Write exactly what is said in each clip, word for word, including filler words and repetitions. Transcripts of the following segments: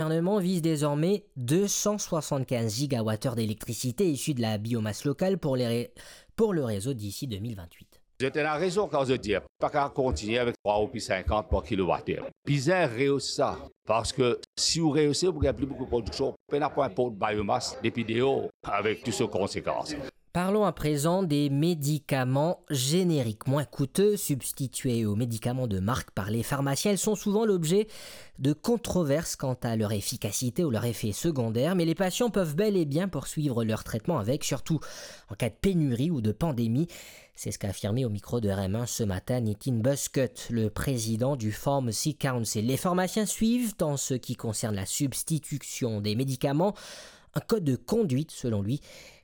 gouverneman viz dezorme de san swasannkinz gigawat-er delektricite isi de la biomas lokal pou le re-, pou le rezo disi de mil vintwit. Zot ena rezon kan zot dir, pa kav kontigne avek trwa roupi sinkant par kilowat-er. Bizin reyis sa, parski si ou reyis, ou gagn pli boukou prodiksion, pena pou inport biomas depi deor avek tou so konsekans. Parlons à présent des médicaments génériques moins coûteux, substitués aux médicaments de marque par les pharmaciens. Ils sont souvent l'objet de controverses quant à leur efficacité ou leurs effets secondaires, mais les patients peuvent bel et bien poursuivre leur traitement avec, surtout en cas de pénurie ou de pandémie. C'est ce qu'a affirmé au micro de R M un ce matin Nitin Buskut, le président du Pharmacy Council. Les pharmaciens suivent, en ce qui concerne la substitution des médicaments, un code de conduite, selon lui.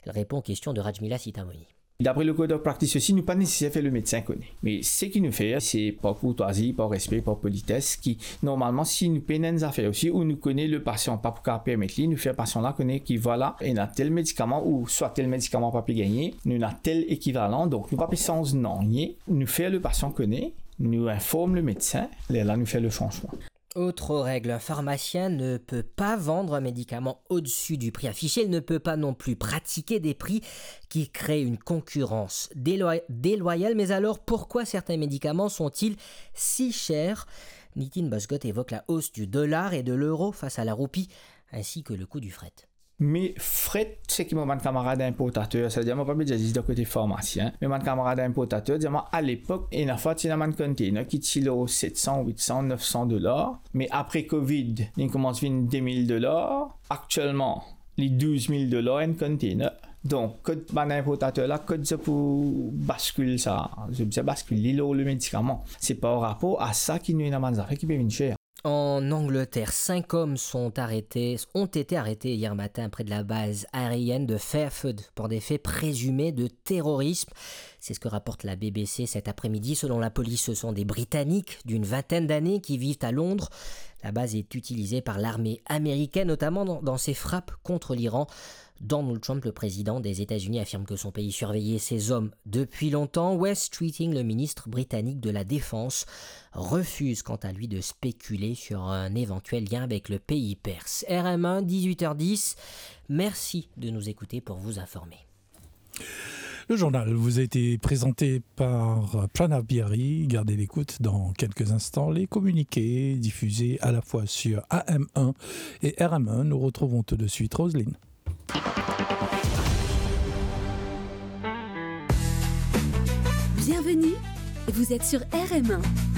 Il répond aux questions de Rajmila Sitamoni. Dapre le code of practice osi, nou pa neseser fer le medsin kone. Me seki nou fer, se par kourtwazi, par respe, par polites, ki normalman, si nou pena enn zafer osi, ou nou kone le pasian pa pou kav permet li, nou fer pasian la kone ki vwala, ena tel medikaman ou swa tel medikaman pa pe gagne, nou ena tel ekivalan, donk nou pa pe sanz nanye, nou fer le pasian kone, nou inform le medsin, lerla nou fer le sanzman. Autre règle, un pharmacien ne peut pas vendre un médicament au-dessus du prix affiché, il ne peut pas non plus pratiquer des prix qui créent une concurrence déloi-, déloyale. Mais alors, pourquoi certains médicaments sont-ils si chers ? Nitin Buskut évoque la hausse du dollar et de l'euro face à la roupie, ainsi que le coût du fret. Me fret, seki mo bann kamarad inportater, savedir mo pa pe dir zis dan kote farmasien, me bann kamarad inportater dir mwa, alepok, ena fwa ti ena bann container ki ti lor set san, wit san, nef san dolar, me apre Covid, li koumans vinn de mil dolar, aktielman, li douz mil dolar enn container. Donk, kot bann inportater la, kot zot pou baskil sa, zot bizin baskil li lor le medikaman. Se par rapor a sa ki nou ena bann zafer ki pe vinn ser. En Angleterre, cinq hommes sont arrêtés, ont été arrêtés hier matin près de la base aérienne de Fairford pour des faits présumés de terrorisme. C'est ce que rapporte la B B C cet après-midi. Selon la police, ce sont des Britanniques d'une vingtaine d'années qui vivent à Londres. La base est utilisée par l'armée américaine, notamment dans, dans ses frappes contre l'Iran. Donald Trump, le président des États-Unis, affirme que son pays surveillait ces hommes depuis longtemps. Wes Streeting, le ministre britannique de la Défense, refuse quant à lui de spéculer sur un éventuel lien avec le pays perse. R M un, dix-huit heures dix. Merci de nous écouter pour vous informer. Le journal vous a été présenté par Pranav Biari. Gardez l'écoute dans quelques instants. Les communiqués diffusés à la fois sur A M un et R M un. Nous retrouvons tout de suite Roselyne. Bienvenue, vous êtes sur R M un.